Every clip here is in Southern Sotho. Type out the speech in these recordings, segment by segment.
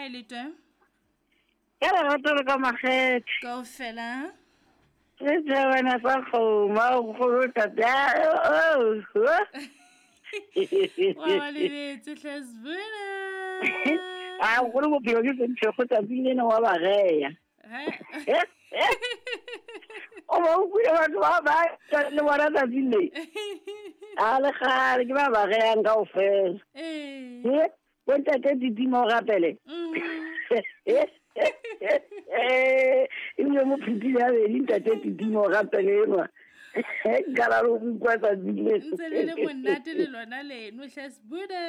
Kae le twe? Ka lerato le ka makgethe. Kaofela. Re tšhabana sa kgoma nkgono tate. Wa ba lebetse hle Sbuna. A nkgono bophelo ke semphego tsatsing lena wa ba geya. He? O ba utlwile batho ba ba le bona tsatsing le. A le kgale ke ba ba geyang kaofela. Ee. Bontate Didimo o rapele. Ebile mo phutile ya bedi ntate Didimo o rapele enwa. Nka la lo utlwa tsatsi le. Ntse le le monate le lona leno hle Sbuda.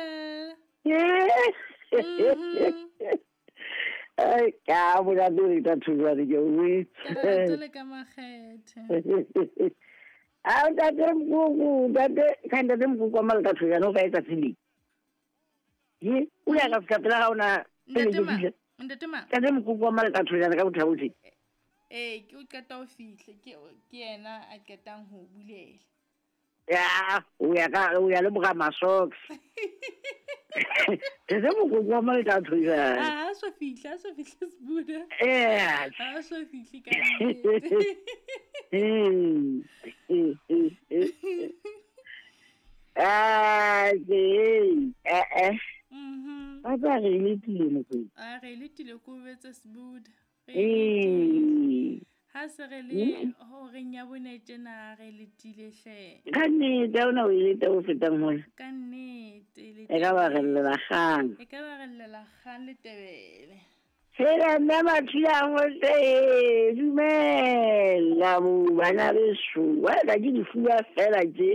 Ai, ka monate re tla thujwane ke o Ka lerato le ka makgethe. A ntate Mokoko, ntate, ka ntate Mokoko wa maleka thujwane o kae tsatsi le? Ye, o ya ka fihla pela ga ona pele Ntate ke ma, fihla. ntate ma. Ntate Mokoko wa maleka thujwane ka bothabothe. Ee, ke o qeta ho fihla, ke ke yena a qetang ho bulela. Ya, o ya ka o ya le boga masocks. Ntate Mokoko wa maleka thujwane. A so fihla, a so fihla Sbuda. Eh. A so fihle ka nnete. Ah, ke eh eh. Ba tla re letile mokwena. A re letile ko betse Sbuda. Re letile. Ee. Ha se re le horeng ya bone tjena re letile hle. Ka nnete ha ona o e leta o fetang mona. Ka nnete le E ka ba re llela kgang. E ka ba re llela kgang le tebele. Fela nna Mathula ngohle dumela bo bana beso. Wa ka ke difuba fela tje.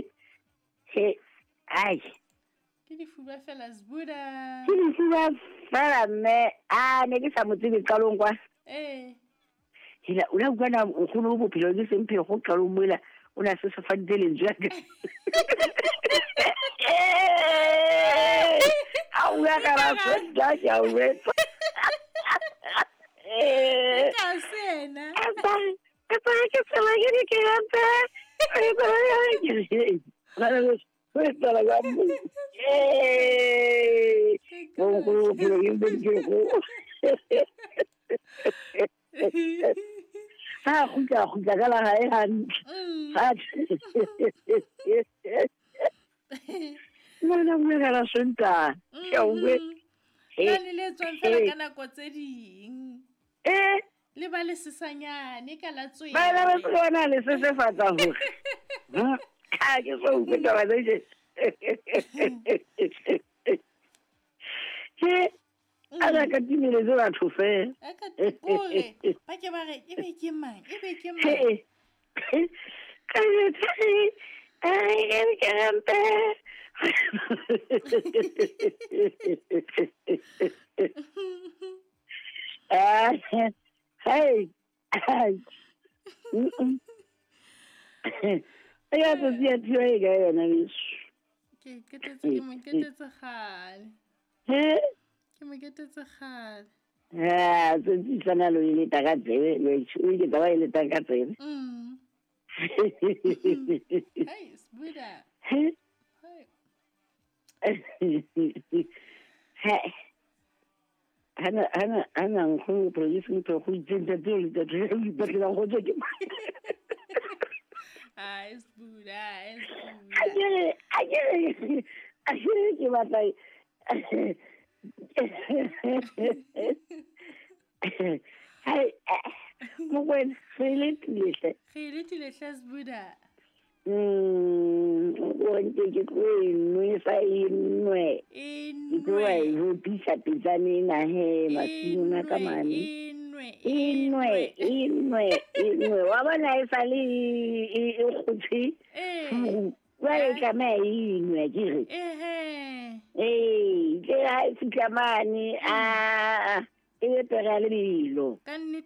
He ai. Ke difuba fela Sbuda. Ke difuba fela mme a ne ke sa mo tsebe qalong kwa. Ee. Hela o la utlwa na nkgono o bophelo ke semphego qalong moela o ne a sesefaditse lentswe la ka. A bua ka la senta ke a utlwa. Ka sena. Ka tsaya ke tsela ke di ke rata. Eh. Bonkgono bophelo ke semphego. Ha kgutla kgutla ka la hae hantle. Ha Nna bua ka la Sontaha. Ke a utlwa. Na le le tswang fela ka nako tse ding. Eh. Le ba le sesanyane ka la tswele. Ba ba tsona le sesefatsa hore. Ha ke so utlwe taba tse Ke a la ka timeletse batho fela. A ka kore ba ke ba re e be ke mang, e be ke mang. Ka ai ke rampe. Ah, hey. Ya tsatsi ya thiwa e kae yona beso? Ke qetetse ke mo qetetse kgale. He? Ke mo qetetse kgale. Ah, tsatsi sana lo e leta ka tsebe, lo e o ke taba e leta ka tsebe. Hey, Sbuda. He? Hey. He. Hana hana hana nkgono produce ntho go itseng ntate o le ntate o ipatlela go tswa ke mang. Ai, Sbuda, ai, Sbuda. A ke re ke batla Hai, Mokwena, re letile hle. Re letile hle Sbuda. O ntse ke tlo e nwesa e nwe. E Ke tlo wa e nwe. hopisa pitsane ena he, masimong a ka mane. E nwe, E nwe, e nwe, e nwe. Wa bona e sale e kgotse. Ee. Jwale e tlameha e nwe ke re. Ehe. Ee, ke ha e fihla mane, a e be pere ya lebelo. Ka nnete.